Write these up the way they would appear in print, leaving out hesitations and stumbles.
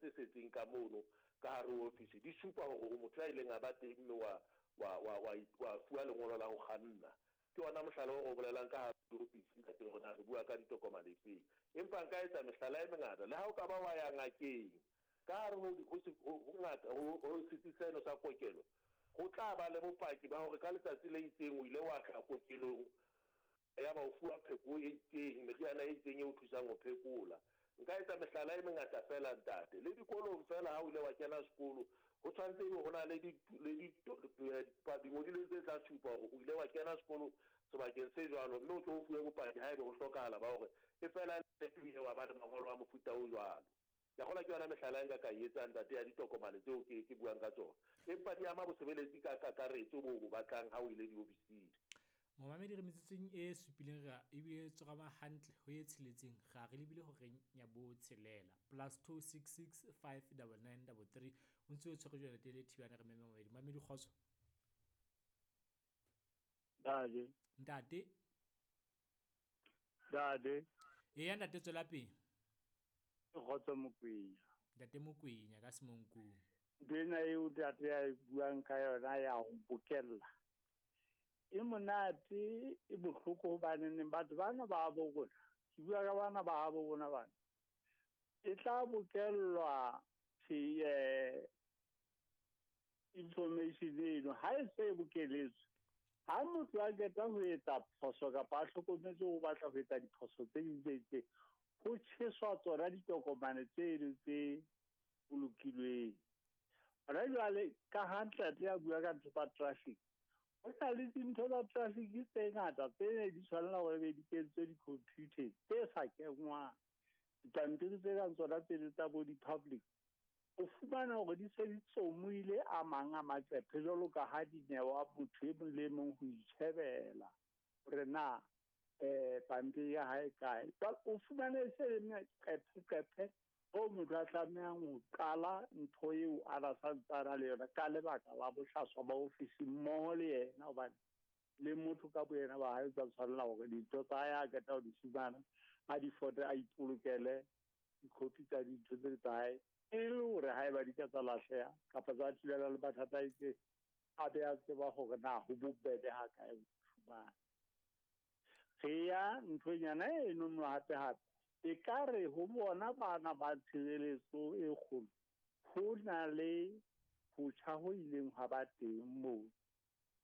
tse setseng ka mono ka hare ho ofisi di supa hore o motho ya ileng a ba teng mme wa wa wa wa wa fuwa lengolo la ho kganna. Ke ona mohlala oo re o bolelang ka hare ho diofisi, ntate, hore na re bua ka ditokomane efeng. Empa nka etsa mehlala e mengata. Le ha o ka ba wa ya ngakeng, ka hare ho ho ho ho ngaka ho ho setsi seno sa kokelo, ho tla ba le bopaki ba hore ka letsatsi le itseng o ile wa tla kokelong Yaba o fuwa pheko e itseng, meriana e itseng e o thusang ho phekola. Nka etsa mehlala e mengata feela, ntate. Le dikolong feela, ha o ile wa kena sekolo, ho tshwanetse ebe ho na le di, le di, dingodilweng tse tla supa hore o ile wa kena sekolo sebakeng se jwalo, mme o tlo o fuwe bopaki haebe ho hlokahala ba hore e fela le o ile wa ba le mangolo a mofuta o jwalo. Ke a kgolwa ke yona mehlala e nka ka e etsang, ntate, ya ditokomane tseo ke, ke buang ka tsona. Empa di ama bosebeletsi ka kakaretso boo o bo batlang ha o ile diofising. Momamedi re metsotsong e supileng re ebile tsorama hantle ho e tsheletseng ra re lebile horeng ya botshelela plus 266 599 33 o ntse o tshwere jwale tele thibana re meme momamedi momamedi kgotso. Ntate. Ntate. Ntate. Eya ntate tswela pele. Ke Kgotso Mokwenya. Ntate Mokwenya ka Semonkong. Ntho ena eo ntate a e buang ka yona ya ho bokella e monate e bohloko hobaneneng batho bana ba bo rona, ke bua ka bana ba habo rona bana, e tla bokellwa information eno ha e se e bokeletswe. Ha motho a qeta ho etsa phoso kapa a hlokometse o batla ho etsa diphoso tse ding tse itseng, ho tjheswa tsona ditokomane tseno tse bolokilweng. Hona jwale ka ha ntate a bua ka ntho tsa traffic, ho na le dintho tsa traffic tse ngata tse ne di tshwanela hore be di kentswe di-computer tse sa kenngwang. Dipampiri tse kang tsona tseno tsa bo di-public, o fumana hore di se di tsomoile a mang a maqephe jwalo ka ha di newa motho e mong le e mong ho itjhebela hore na pampiri ya hae kae. Jwale o fumane e se le meqepheqephe hoo motho a tlamehang ho qala ntho eo a na sa ntse a na le yona ka lebaka la bohlaswa ba ofisi mmoho le yena, hobane le motho ka boyena ba hae o tla tshwanela hore dintho tsa hae a qeta ho di fumana a di fote a ipolokele dikhopi tsa dintho tse tsa hae, e le hore haeba di ka tsa lahleha kapa tsa thulana le mathata a itseng, a be a tseba hore na ho bobebe ha kae ho di fumana. Re ya nthonyana eno no hape hape e ka re ho bona bana ba tshireletso e kgolo ho na le ho tjha ho ileng hwa ba teng moo.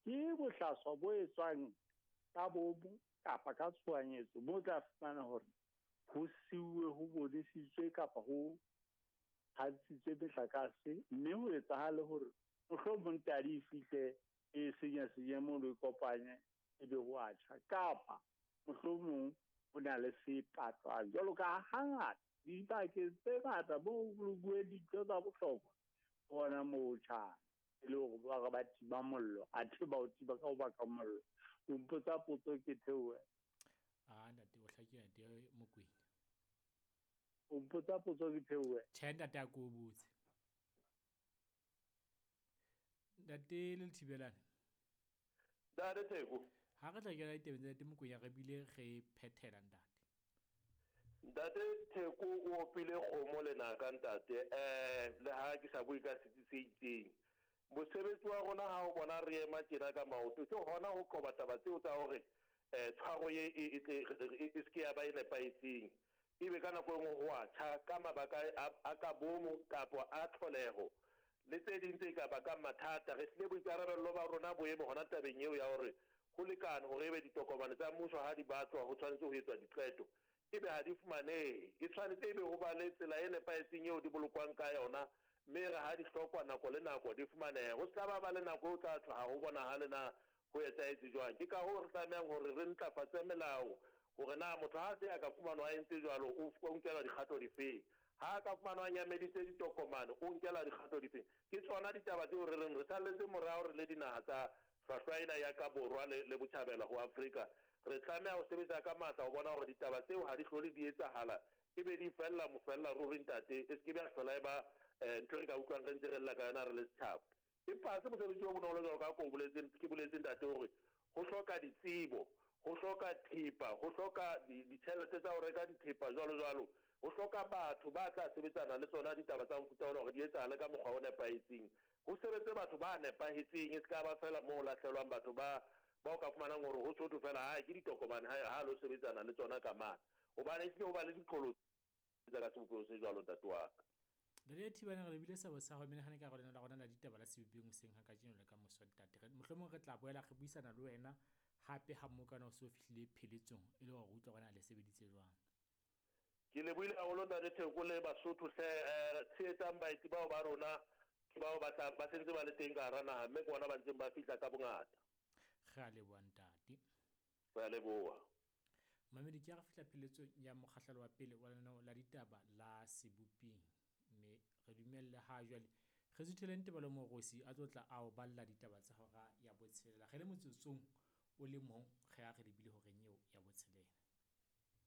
Ke bohlaswa bo etswang ka bomo kapa ka tshohanyetso moo o tla fumana hore ho siuwe ho bonesitswe kapa ho hantshitswe metlakase, mme ho etsahale hore mohlomong tadi e fihle e senya-senye mono e kopanye ebe ho a tjha, kapa mohlomong ho na le se patlwang. Jwalo ka hangata dibakeng tse ngata moo ho bolokuweng dintho tsa bohlokwa, ke hona moo ho tjhang, e le hore ba re ba tima mollo, athe ba o tima ka ho baka mollo. O mpotsa potso ke theohe. Ah, ntate o hlakile ntate Mokwena. O mpotsa potso ke theohe. Tjhe ntate a ko botse. Ntate le Thibelane. Ntate Theko. Ha re tla kena ditabeng tsa ntate Mokwena re bile re phethela ntate. Ntate Theko o opile kgomo lenaka ntate. Le ha ke sa bue ka setsi se itseng. Mosebetsi wa rona ha o bona re ema tjena ka maoto ke hona ho qoba taba tseo tsa hore tshwaro ye e tle e se ke ya ba e nepahetseng. Ebe ka nako e nngwe ho a tjha ka mabaka a ka bomo kapa a tlholeho le tse ding tse ka bakang mathata. Re hlile boikarabello ba rona bo eme hona tabeng eo ya hore ho lekane hore ebe ditokomane tsa mmuso ha di batlwa ho tshwanetse ho etswa diqeto ebe ha di fumanehe. E tshwanetse ebe ho ba le tsela e nepahetseng eo di bolokwang ka yona mme ere ha di hlokwa nako le nako di fumanehe. Ho se ka ba ba le nako eo tla thwe ha ho bonahale na ho etsahetse jwang. Ke kahoo re tlamehang hore re ntlafatse melao hore na motho ha a se a ka fumanwa a entse jwalo o nkelwa dikgato difeng. Ha a ka fumanwa a nyameditse ditokomane o nkelwa dikgato difeng. Ke tsona ditaba tseo re reng re salletse morao re le dinaha tsa hlwahlwa ena ya ka borwa le botjhabela ho Afrika. Re tlameha ho sebetsa ka matla ho bona hore ditaba tseo ha di hlole di etsahala ebe di fella mofella ruri ntate, e se ke be ya hlola e ba ntho e re ka utlwang re ntse re lla ka yona re le setjhaba. Empa ha se mosebetsi o bonolo jwalo ka ha ke o boletse, ke boletse ntate hore ho hloka ditsebo, ho hloka thepa, ho hloka ditjhelete tsa ho reka dithepa jwalo jwalo. Ho hloka batho ba tla sebetsana le tsona ditaba tsa mofuta ona hore di etsahale ka mokgwa o nepahetseng. Ho sebetse batho ba nepahetseng, e se ka ba feela moo ho lahlelwang batho ba ba o ka fumanang hore ho so thwe feela hae ke ditokomane hae ha lo sebetsana le tsona ka mane. Hobane ehlile ho ba le diqholotso ka sebopeho se jwalo ntate wa ka. Ntate Thibane re lebile sebo sa hao menahane ka lena la rona la ditaba la sebopeng hoseng ha kajeno le ka moso ntate. Mohlomong re tla boela re buisana le wena hape ha mmokana o se o fihlile pheletsong e le hore utlwa hore na le sebeditse jwang. Ke lebohile haholo ntate Theko le Basotho hle tshehetsang baeti bao ba rona ke bao ba tla ba sentse ba le teng ka hara naha mme ke bona ba ntseng ba fihla ka bongata. Re a leboha ntate. Re a leboha. Mamedi ke ha re fihla pheletsong ya mokgahlelo wa pele wa lenaneo la ditaba la Seboping mme re dumelle ha jwale re sutheleng Tebelo Morosi a tlo tla a o balla ditaba tsa hora ya botshelela. Re le motsotsong o le mong re ya re lebile horeng eo ya botshelela.